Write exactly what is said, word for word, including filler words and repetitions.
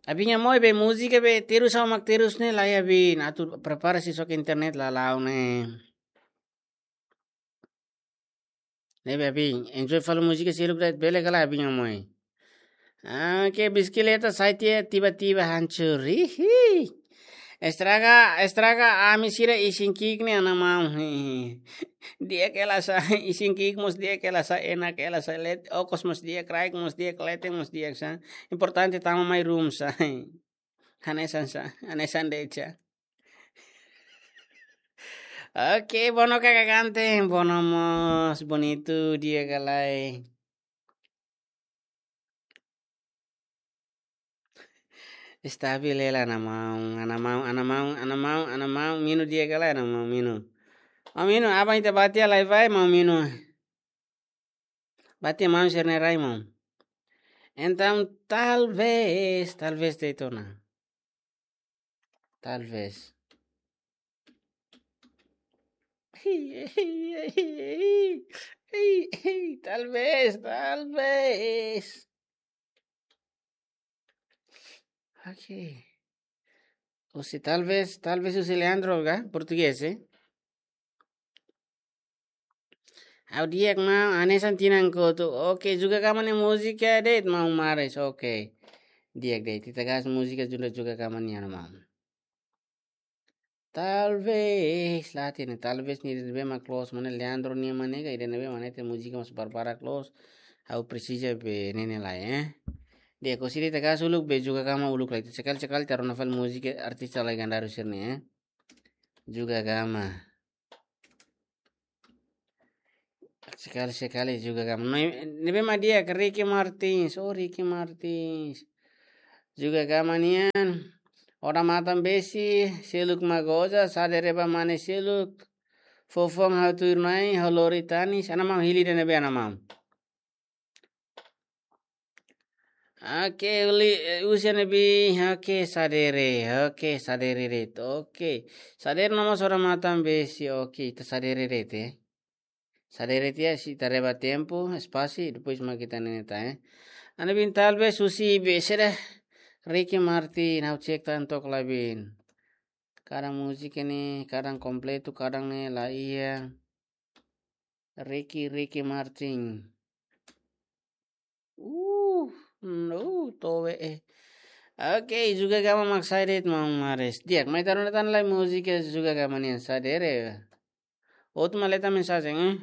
Abin Amoi be múzika be terus sama mak terus ne'e lai abin. Atu prepara sira-nia internet lala'o ne'e. Ne'ebé abin, enjoy fali múzika seluk de'it bele ka lae abin Amoi. Ah, ke bisikleta sai tiha tiba-tiba hancur. Hihi. Estraga, estraga ami sira isin ki'ik ne'e ana maun. Hihi. Di'ak hela sá, isin ki'ik mós di'ak hela sá, enak hela sá, leten, okos mós di'ak, kraik mós di'ak, leten mós di'ak sá. Importante tama mai room sá. Hanesan sá, hanesan de'it sá. Oke, Bono kakak ganteng, Bono mós bonitu di'ak ka lae. Estabil hela ana maun, ana maun, ana maun, ana maun, ana maun, Minu di'ak ka lae ana maun, Minu. Oh, Minu, aban ita bá tiha lai vai, maun Minu. Bá tiha maun sira-nia rai, maun. Entaun, talvez, talvez de'it ona. Talvez. Talvez, talvez. Ok. Husi talvez, talvez husi Leandro ka? Portugés, eh? Ha'u di'ak maun, hanesan tinan kotuk. Oke, Juga Gama nia múzika de'it maun Maris. Oke. Di'ak de'it. Ita gás múzika Juga, Juga Gama nian maun. Talvez, la hatene, talvez ne'e ida ne'ebé mak close, mana Leandro nian mak ne'e ka, ida ne'ebé mak ne'e ita múzika mós barbarak close. Ha'u presiza be ne'e ne'e lai, eh. Di'ak, husi ida ita gás uluk be Juga Gama uluk lai. Sekali-sekali ita rona fali múzika artis legenda sira-ne'e, eh. Juga Gama. Sekali-sekali Juga Gama. Ne'e, ne'ebé mak di'ak, Ricky Martins. Oh, Ricky Martins. Juga Gama nian. Odamatan-besi, seluk mak goza, sadere ba mane seluk. Foufoun ha'u tuir-na'in, ha'u lori tanis. Ana maun, hili ida ne'ebé ana maun. Oke, uli, eh, husi ne'ebé, oke, sadere, oke, sadere de'it, oke. Sadere no mós odamatan-besi, oke, ita sadere de'it, eh. Sadere tiha, sei ita reba tempu, espasu, depois mak ita ne'e ne'e ta, eh. Ana bin talvez husi be sira, Ricky Martin, ha'u cek tan to'ok lai bin. Kadang múzika ne'e, kadang kompletu, kadang ne'e la iha. Ricky, Ricky Martin. Uh, no, towe, eh. Oke, Juga Gama mak sai de'it maun Maris. Di'ak, mai ita rona tan lai múzika Juga Gama nian sadere. Outro mak leta mensajen, eh.